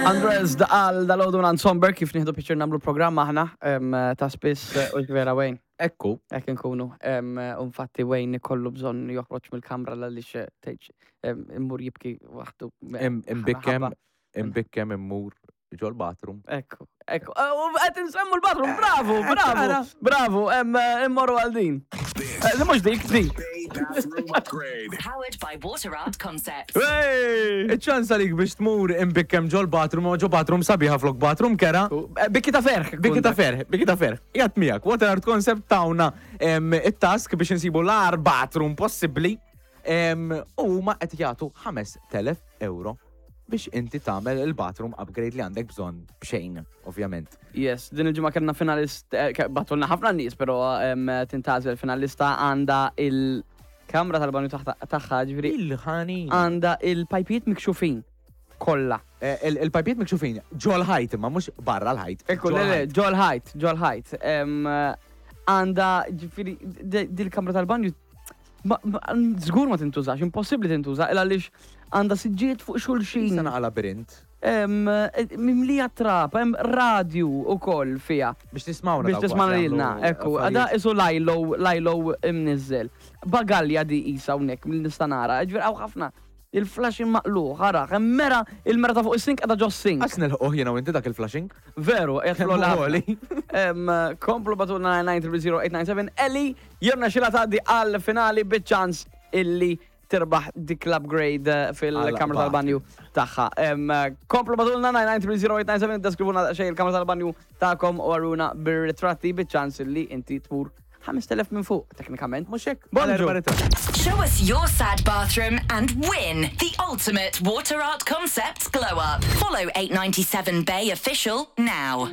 Andres daqal dal-għodu minn Somber kif nieħdu picture namlu programm aħna ta' spiss eh, u vera Wayne. Ekku. Ekk nkunu. U infatti Wayne ikollu bżonn joħroġ mill-kamra l-għaliex eh, tgħidx immur jibki waħdu. Imbikkem, imbikkem immur ġol bathroom. Ekku, ekku. Eh, u qed insemmu l-bathroom, bravo, bravo, bravo, eh, immorru għal din. Eh, mhux dik, din. Powered by Water Art Concepts. Iċ-ċans għalik biex tmur imbikkem ġol bathroom u ġo bathroom sabiħa flok bathroom kera. Bikki ta' ferħ. Bikki ta' ferħ, bikki ta' ferħ. Jgħat miegħek, Water Art Concept tawna it-task biex insibu l-ar bathroom possibbli. U huma qed jagħtu 5000 euro biex inti tagħmel il-bathroom upgrade li għandek bżonn b'xejn, ovvjament. Yes, din il-ġimgħa kellna finalist, eh, batulna ħafna nies, però tintgħażel finalista għandha il-kamra tal-banju tagħha, ġifieri. Il-ħani. Għandha il-pajpijiet mikxufin kollha. Eh, il-pajpijiet mikxufin ġol ħajt imma mhux barra l-ħajt. Ekku, le, le, ġol ħajt, ġol ħajt. Għandha ġifieri dil-kamra tal-banju Żgur ma tintużax, impossibbli tintuża, il għaliex għandha siġġiet fuq xulxin. Sa naqa' labirint. E, mimlija trab, hemm radju ukoll fiha. Biex tismawna. Biex tismawna lilna, ekku. Għada isu lajlo, lajlo imniżżel. Bagalja di isa hawnhekk mill nista' nara, ġifieri hawn ħafna. Il-flashing maqluħ, ara, hemm mera, il-mera ta' fuq is-sink qiegħda ġo sink. Għax nilħquh jiena u inti dak il-flashing. Veru, qiegħed fl-għoli. Komplu batulna 9300897 Eli jirnexxilha tgħaddi għal finali biċ-ċans illi tirbaħ dik l-upgrade eh, fil-kamra tal-banju tagħha. Komplu batulna 9930897 deskrivuna xejn il-kamra tal-banju tagħkom u għaruna bir-ritratti biċ-ċans illi inti tmur 5000 minn fuq, teknikament. Mhux hekk? Bonġu. Show us your sad bathroom and win the ultimate water art concepts glow up. Follow 897 Bay official now.